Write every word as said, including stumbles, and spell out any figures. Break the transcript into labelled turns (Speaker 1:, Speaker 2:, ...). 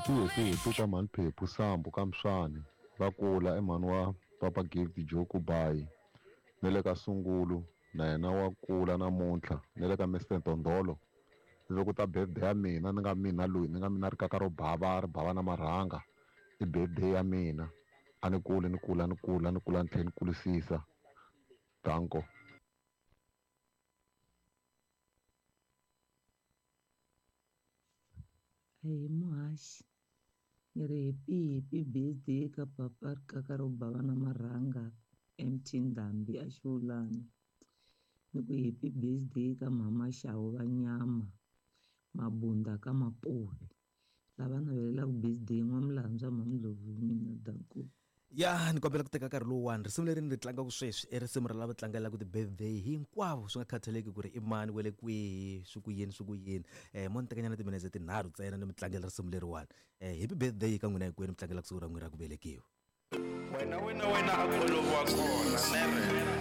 Speaker 1: Happy happy happy ka mhani Phephu Sambu ka Mswani va kula i mhani wa Papa Gift Joku Bayi na le ka Sungulu na yena wa kula namuntlha na le ka Mister Ntondolo loko ta birthday ya mina ni nga mina loyi ni nga mina rikaka ro bava ri bava na marhanga i birthday ya mina a ni kuli ni kula ni kula ni kula ni tlhela ni kulisisa danko.
Speaker 2: Ahee muhaxi ni ri happy happy birthday ka papa rikaka ro bava na marhanga M T Ndhambi a Xiwulani. Ni ku happy birthday ka mama Xawu va nyama Mabunda ka Mapuve lava navelelaka birthday N'wamulandzwa Mhamndlovu hi mina danko.
Speaker 3: Ya ni kombela ku teka nkarhi lowuwani risimu leri ni ri tlangaka sweswi i risimu ra lava tlangelaka ti-birthday hinkwavo swi nga khathaleki ku ri i mani wa le kwihi swi ku yini swi ku yini um mo ni tekanyana timinetse tinharhu ntsena ni mi tlangela risimu leriwani um happy birthday ka n'wina hinkwenu mi tlangelaka siku ra n'wina ra ku velekiwa.
Speaker 4: Wena wena wena a kholovo wa kona nere.